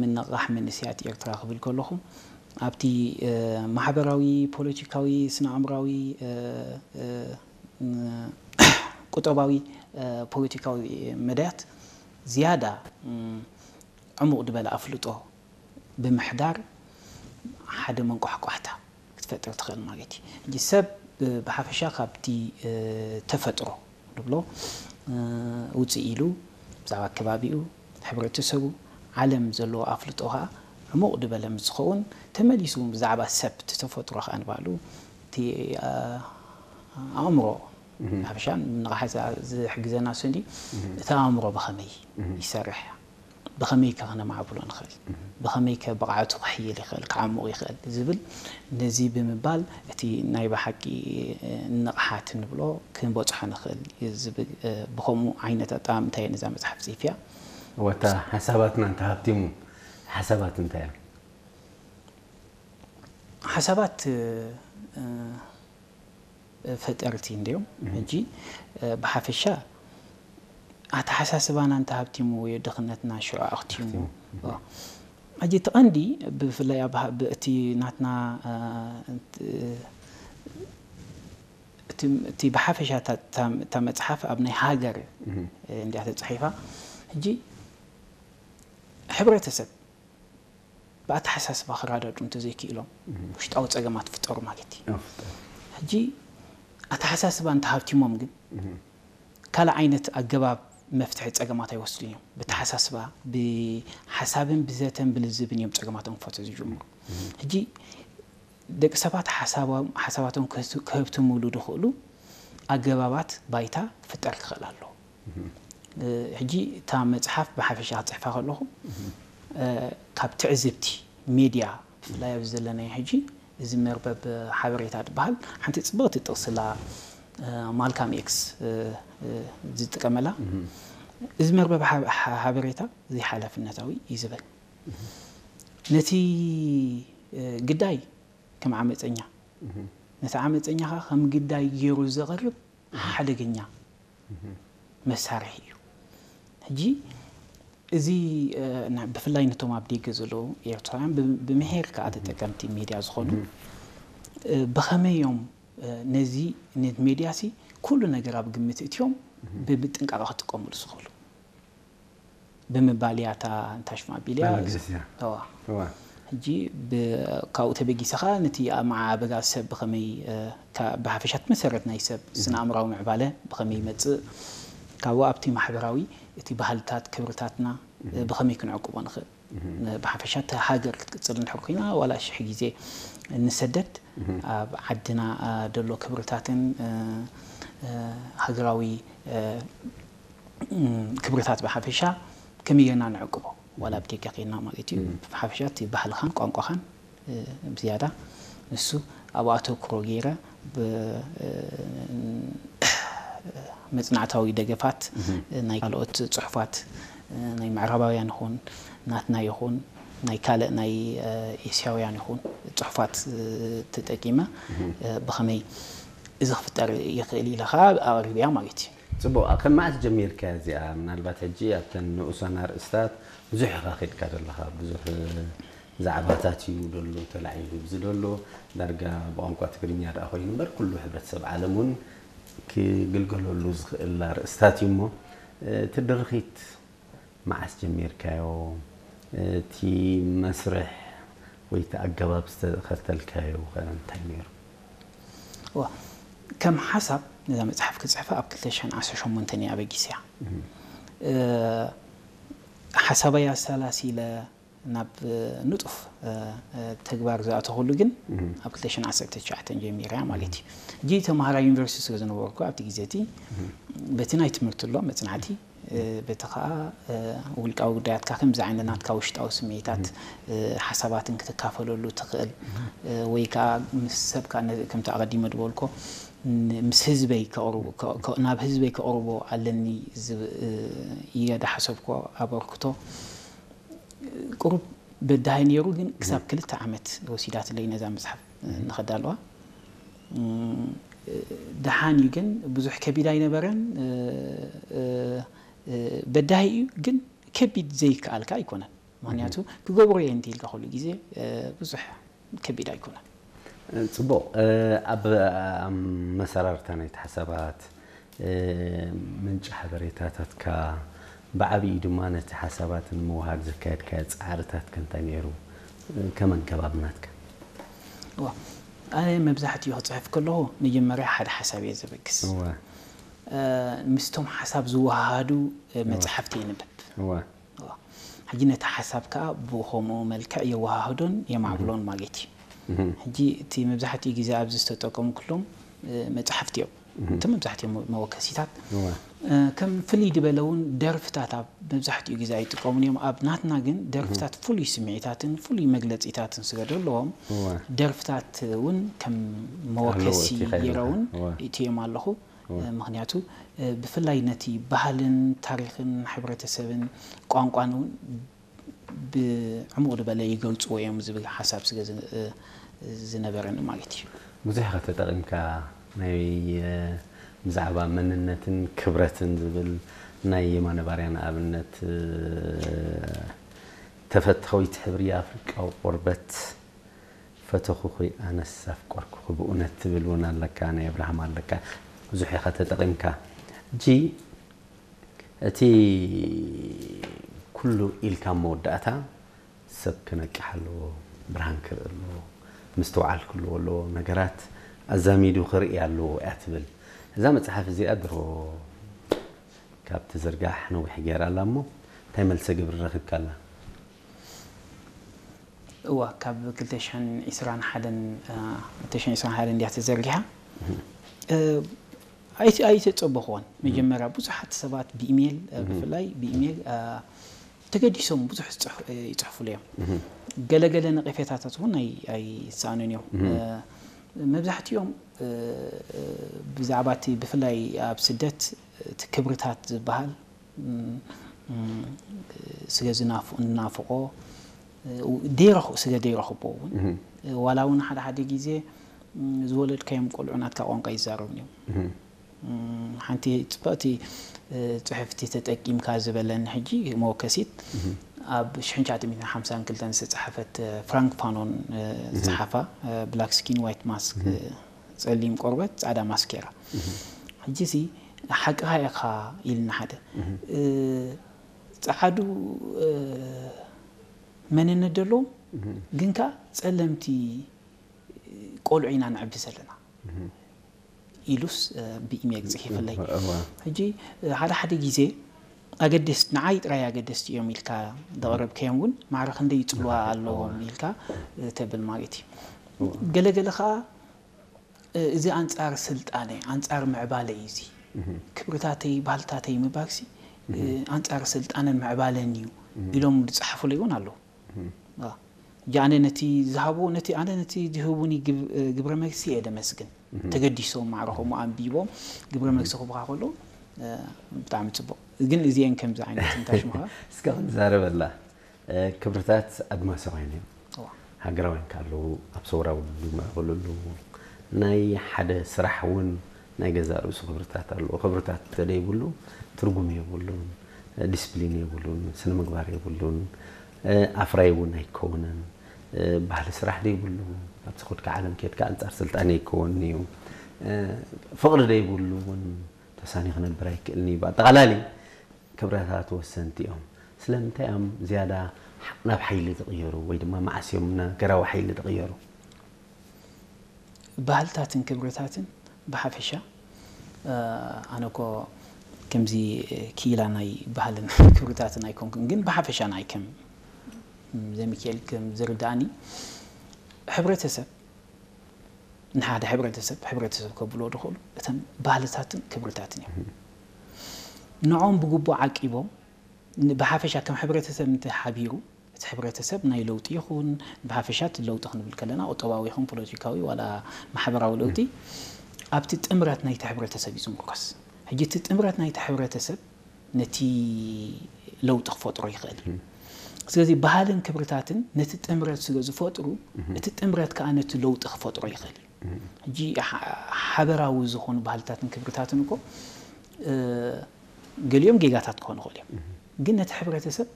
ምንቕቓሕ መንእሰያት ኤርትራ ክብል ከለኹ ኣብቲ ማሕበራዊ፣ ፖለቲካዊ፣ ስነ ኣእምራዊ፣ ቁጠባዊ፣ ፖለቲካዊ መዳያት ዝያዳ ዕሙቕ ዝበለ ኣፍልጦ ብምሕዳር ሓደ መንቋሕቋሕታ ክትፈጥር ትኽእል ማለት እዩ። ሕጂ ሰብ ብሓፈሻ ካብቲ ተፈጥሮ ንብሎ ውፅእ ኢሉ ብዛዕባ ከባቢኡ፣ ሕብረተሰቡ፣ ዓለም ዘለዎ ኣፍልጦ ከዓ ዕሙቕ ዝበለ ምስ ዝኸውን ተመሊሱ ብዛዕባ ሰብ፣ እቲ ተፈጥሮ ከዓ ንባዕሉ እቲ ኣእምሮ ሓፈሻ ንቕሓት ዝሕግዘና እሱ እንዲ እቲ ኣእምሮ ብኸመይ ይሰርሕ፣ ብኸመይ ከ ከነማዕብሎ ንኽእል፣ ብኸመይ ከ ብቕዓቱ ክሕይል ይኽእል፣ ክዓሙቕ ይኽእል ዝብል ነዚ ብምባል እቲ ናይ ብሓቂ ንቕሓት ንብሎ ክንበፅሖ ንኽእል ዝብል ብኸምኡ ዓይነት ኣጠማምታ እየ ነዛ መፅሓፍ ፅሒፈያ። ወታ ሓሳባትና እንተሃብቲሙ ሓሳባት እንታይ እዮም? ሓሳባት ፈጠርቲ እንድዮም። ሕጂ ብሓፈሻ ኣተሓሳስባና እንተሃብቲሙ ወይ ድኽነትና ሽዑ ኣኽቲሙ። ሕጂ እቲ ቀንዲ ብፍላይ እቲ ናትና እቲ ብሓፈሻ እታ መፅሓፍ ኣብ ናይ ሃገር እንዲያ ተፃሒፋ። ሕጂ ሕብረተሰብ ብኣተሓሳስባ ክረዳድኡ እንተዘይክኢሎም ውሽጣዊ ፀገማት ፍጠሩ ማለት እዩ። ሕጂ ኣተሓሳስባ እንተሃብቲሞም ግን ካልእ ዓይነት ኣገባብ መፍትሒ ፀገማት ኣይወስዱን እዮም። ብተሓሳስባ፣ ብሓሳብን ብዘተን ብልዝብን እዮም ፀገማቶም ክፈትሑ ዝጅምሩ። ሕጂ ደቂ ሰባት ሓሳባቶም ክህብትምሉ ዝኽእሉ ኣገባባት ባይታ ክፍጠር ክኽእል ኣለዎ። ሕጂ እታ መፅሓፍ ብሓፈሻ ክፅሕፋ ከለኹ ካብ ትዕዝብቲ ሜድያ ብፍላይ ኣብዚ ዘለናዮ ሕጂ እዚ መርበብ ሓበሬታ ዝበሃል ሓንቲ ፅብቕቲ ጥቕስላ ማልካም ኤክስ ዝጥቀመላ እዚ መርበብ ሓበሬታ ዘይሓላፍነታዊ እዩ ዝበል ነቲ ግዳይ ከም ዓመፀኛ ነቲ ዓመፀኛ ከዓ ከም ግዳይ ገይሩ ዘቕርብ ሓደገኛ መሳርሒ እዩ። ሕጂ እዚ ብፍላይ ነቶም ኣብ ደገ ዘለዉ ኤርትራውያን ብምሄር ከዓ ተጠቀምቲ ሜድያ ዝኾኑ ብኸመይ እዮም ነዚ ሜድያ ሲ ኩሉ ነገር ኣብ ግምት እትዮም ብምጥንቃቐ ክጥቀሙሉ ዝኽእሉ ብምባል እያ እታ እንታሽማ ቢልያ ሕጂ ካብኡ ተበጊሰኻ ነቲ ኣመዓበጋ ሰብ ብኸመይ ብሓፈሻ እቲ መሰረት ናይ ሰብ ስነ ኣእምራዊ ምዕባለ ብኸመይ ይመፅእ ካብኡ ኣብቲ ማሕበራዊ እቲ ባህልታት ክብርታትና ብኸመይ ክንዕቅቦ ንኽእል ብሓፈሻ እቲ ሃገር ክትቅፅል እንድሕር ኮይና ዋላ ሽሕ ግዜ ንሰደድ ኣብ ዓድና ደሎ ክብርታትን ሃገራዊ ክብርታት ብሓፈሻ ከመይ ጌርና ንዕቅቦ ዋላ ኣብ ደገ ኬድና ማለት እዩ ብሓፈሻ እቲ ባህልኻን ቋንቋኻን ብዝያዳ ንሱ ኣብኡ ኣተኩሮ ገይረ መፅናዕታዊ ደገፋት ናይ ካልኦት ፅሑፋት ናይ ምዕራባውያን ይኹን ናትና ይኹን ናይ ካልእ ናይ ኤስያውያን ይኹን ፅሑፋት ተጠቂመ ብኸመይ እዚ ክፍጠር ይኽእል ኢለ ከዓ ኣቕሪብያ ማለት እዩ። ፅቡቕ፣ ካብ መዓስ ጀሚርካ እዚኣ? ምናልባት ሕጂ ኣብተን ንኡሳን ኣርእስታት ብዙሕ ኢኻ ከድካ ዘለኻ፣ ብዙሕ ዛዕባታት እዩ ደሎ ተላዒሉ። እዚ ደሎ ዳርጋ ብቋንቋ ትግርኛ ደኣ ኮይኑ እምበር ኩሉ ሕብረተሰብ ዓለም እውን ክግልገለሉ ዝኽእል ኣርእስታት እዩ እሞ እቲ ድርኺት መዓስ ጀሚርካዮ? እቲ መስርሕ ወይ እቲ ኣገባብ ዝተኸተልካዮ ከ እንታይ ነይሩ? እዋ ከም ሓሳብ ነዛ መፅሓፍ ክፅሕፋ ኣብ ክልተ ሽሕን ዓሰርተ ሸሞንተን እየ ኣበጊሰያ። ሓሳበይ ኣሰላሲለ ናብ ንጡፍ ተግባር ዝኣተኹሉ ግን ኣብ ክልተ ሽሕን ዓሰርተ ትሽዓተን ጀሚረ እያ ማለት እዩ። ሕጂ ተምሃራይ ዩኒቨርሲቲ ስለ ዝነበርኩ ኣብቲ ግዜ እቲ በቲ ናይ ትምህርቲ ኣሎ መፅናዕቲ በቲ ከዓ ውልቃዊ ጉዳያትካ ከምዚ ዓይነት ናትካ ውሽጣዊ ስምዒታት ሓሳባትን ክትካፈለሉ ትኽእል ወይ ከዓ ምስ ሰብካ ከምቲ ኣቐዲመ ዝበልኮ ምስ ህዝበይ ናብ ህዝበይ ከቕርቦ ኣለኒ እየ ዝሓሰብኮ ኣበርክቶ ቁሩብ በዳሂ ነይሩ ግን ክሳብ ክልተ ዓመት ወሲዳትለይ ነዛ መፅሓፍ ንኸዳልዋ ደሓን እዩ ግን ብዙሕ ከቢድ ኣይነበረን በዳሂ እዩ ግን ከቢድ ዘይከኣልካ ኣይኮነን ምክንያቱ ክገብሮ እየ እንተ ኢልካ ኩሉ ግዜ ብዙሕ ከቢድ ኣይኮነን። ፅቡቕ። ኣብ መሰራርታ ናይቲ ሓሳባት፣ ምንጪ ሓበሬታታትካ፣ ብዓብዪ ድማ ነቲ ሓሳባት ንምውሃድ ዘካየድካዮ ፃዕርታት ከ እንታይ ነይሩ? ከመን ከባቢ ናትካ? ኣነ መብዛሕትኡ ክፅሕፍ ከለኹ መጀመርያ ሓደ ሓሳብ እየ ዘበግስ። ምስቶም ሓሳብ ዝወሃሃዱ መፅሓፍቲ የንብብ። ሕጂ ነቲ ሓሳብ ከዓ ብኸምኡ መልክዕ የወሃህዶን የማዕብሎን ማለት እዩ። ሕጂ እቲ መብዛሕትኡ ግዜ ኣብዚ ዝተጠቀምኩሎም መፅሓፍቲ እዮም። እቲ መብዛሕትኦም መወከሲታት ከም ፍልይ ዝበለ እውን ደርፍታት ኣብ መብዛሕትኡ ግዜ ኣይጥቀሙን እዮም። ኣብ ናትና ግን ደርፍታት ፍሉይ ስምዒታትን ፍሉይ መግለፂታትን ስለ ዘለዎም ደርፍታት እውን ከም መወከሲ ገይረ እውን እትዮም ኣለኹ። ምክንያቱ ብፍላይ ነቲ ባህልን ታሪክን ሕብረተሰብን ቋንቋን እውን ብዕሙቕ ዝበለ ይገልፅዎ እዮም ዝብል ሓሳብ ስለ ዝነበረኒ ማለት እዩ። ብዙሕ ኢኻ ተጠቒምካ ናይ ብዛዕባ መንነትን ክብረትን ዝብል ናይ የማነ ባርያ ንኣብነት ተፈታዊት ሕብሪ ኣፍሪቃዊ ቆርበት ፈተኹኺ ኣነስ ኣፍቀርኩኺ ብእውነት ትብል እውን ኣለካ ናይ ኣብርሃም ኣለካ ብዙሕ ኢኻ ተጠቒምካ ሕጂ እቲ ኩሉ ኢልካ መወዳእታ ሰብ ክነቅሕ ኣለዎ ብርሃን ክርኢ ኣለዎ ምስትውዓል ክህልዎ ኣለዎ ነገራት ኣዛሚዱ ክርኢ ኣለዎ እያ ትብል እዛ መፅሓፍ እዚኣ ድሮ ካብ ትዝርጋሕ ነዊሕ ገይራ ኣላ እሞ እንታይ መልሰ ግብሪ ረኺብካ ኣላ እዋ ካብ ክልተ ሽሕን ዕስራን ሓደን ክልተ ሽሕን ዕስራን ሓደን እንድያ ተዘርጊሓ ኣይተፀበኽዎን መጀመርያ ብዙሓት ሰባት ብኢሜል ብፍላይ ብኢሜል ተገዲሶም ብዙሕ ይፅሕፉሉ እዮም ገለገለ ነቐፌታታት እውን ኣይሰኣኑን እዮም መብዛሕትኦም ብዛዕባ እቲ ብፍላይ ኣብ ስደት እቲ ክብርታት ዝበሃል ስለ ዝናፍቆ ስለ ዘይረኽቦ እውን ዋላ እውን ሓደ ሓደ ግዜ ዝወለድካዮም ቆልዑ ናትካ ቋንቋ ይዛረቡን እዮም ሓንቲ ፅብቕቲ ፅሕፍቲ ተጠቂምካ ዝበለኒ ሕጂ መወከሲት ኣብ ሽሕን ትሽዓተ ሚእትን ሓምሳን ክልተን ዝተፃሓፈት ፍራንክ ፋኖን ዝፀሓፋ ብላክ ስኪን ዋይት ማስክ ፀሊም ቆርበት ፃዕዳ ማስኬራ ሕጂ ሲ ሓቅኻ ኢኻ ኢልና ሓደ ፃዓዱ መንነት ዘለዎም ግን ከዓ ፀለምቲ ቆልዑ ኢና ንዕቢ ዘለና ኢሉስ ብኢሜል ፅሒፍለይ ሕጂ ሓደ ሓደ ግዜ ኣገደስቲ ንዓይ ጥራይ ኣገደስቲ እዮም ኢልካ ዘቕረብከዮም እውን ማዕረ ክንደይ ይፅልዋ ኣለዎም ኢልካ ተብል ማለት እዩ ገለገለ ከዓ እዚ ኣንፃር ስልጣነ ኣንፃር ምዕባለ እዩ እዚ ክብርታተይ ባህልታተይ ምባልሲ ኣንፃር ስልጣነን ምዕባለን እዩ ኢሎም ዝፀሓፉለይ እውን ኣለዉ ሕጂ ኣነ ነቲ ዝሃብዎ ነቲ ኣነ ነቲ ዝህቡኒ ግብረ መልሲ እየ ደመስግን ተገዲሶም ማዕረ ከምኡ ኣንቢቦም ግብረ መልሲ ክቡካ ከሎ ብጣዕሚ ፅቡቅ ግን እዚአን ከምዚ ዓይነት እንታሽምኻ እስከ ክንዛረበላ ክብርታት ኣድማሳውያን እዮም ሃገራውያን ካለዉ ኣብ ሰውራ ውድብ ይምዕብሉ ኣለዉ ናይ ሓደ ስራሕ እውን ናይ ገዛእ ርእሱ ክብርታት ኣለዎ ክብርታት ተደይብሉ ትርጉም የብሉን ዲስፕሊን የብሉን ስነ ምግባር የብሉን ኣፍራይ እውን ኣይከውንን ባህሊ ስራሕ ደይብሉ ኣብቲ ኮድካ ዓለም ኬድካ ኣንፃር ስልጣን ኣይከወን እዩ ፍቕሪ ደይብሉ እውን ተሳኒ ክነብር ኣይክእልን እዩ ብኣጠቓላሊ ክብረታት ወሰንቲ እዮም ስለምንታይ እዮም ዝያዳ ናብ ሓይሊ ዝቕየሩ ወይ ድማ መዓስ እዮም ነገራዊ ሓይሊ ዝቕየሩ ባህልታትን ክብርታትን ብሓፈሻ ኣነ ኮ ከምዚ ክኢላ ናይ ባህልን ክብርታትን ኣይኮንኩን ግን ብሓፈሻ ናይ ከም ዘሚካኤል ከም ዝርዳእኒ ሕብረተሰብ ንሓደ ሕብረተሰብ ሕብረተሰብ ከብልዎ ዝኽእሉ እተን ባህልታትን ክብርታትን እዮም ንዖም ብግቡእ ዓቂቦም ብሓፈሻ ከም ሕብረተሰብ እንተሓቢሩ እቲ ሕብረተሰብ ናይ ለውጢ ይኹን ብሓፈሻ እቲ ለውጢ ክንብል ከለና ቁጠባዊ ይኹን ፖለቲካዊ ዋላ ማሕበራዊ ለውጢ ኣብቲ ጥምረት ናይቲ ሕብረተሰብ እዩ ዝምርኮስ ሕጂ እቲ ጥምረት ናይቲ ሕብረተሰብ ነቲ ለውጢ ክፈጥሮ ይኽእል እዩ ስለዚ ባህልን ክብርታትን ነቲ ጥምረት ስለ ዝፈጥሩ እቲ ጥምረት ከዓ ነቲ ለውጢ ክፈጥሮ ይኽእል እዩ ሕጂ ሓበራዊ ዝኾኑ ባህልታትን ክብርታትን እኮ ገሊኦም ጌጋታት ክኾኑ ይኽእል እዮም ግን ነቲ ሕብረተሰብ